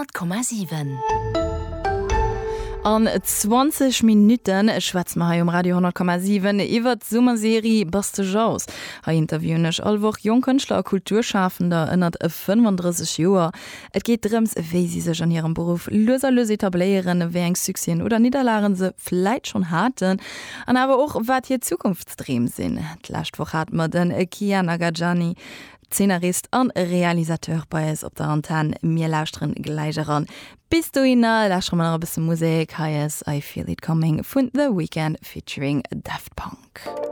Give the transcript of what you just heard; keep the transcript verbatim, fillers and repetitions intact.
Honnert Komma siwen. An zwanzeg Minutte schwätze mer hei um Radio honnert Komma siwen iwwert d'Summerserie Bass de Jauss. Hei interviewen ech all Woch jonk Kënschtler a Kulturschafender ënnert fënnefandrësseg Joer. Et geet drëms, wéi si sech an hirem Beruff lues a lues etabléieren, wéi eng Succèsen oder Nidderlagen se vläit schonn haten an awer och wat hir Zukunftsdreem sinn. D'lescht Woch hate mer de Kian Agajani, Zeenarist an Realisateur bei eis op der Antenn. Mir lauschteren gläich eran. Bis dohinner lauschtere mer nach e bësse Musek. Hei ass I Feel It Coming vun The Weeknd featuring Daft Punk.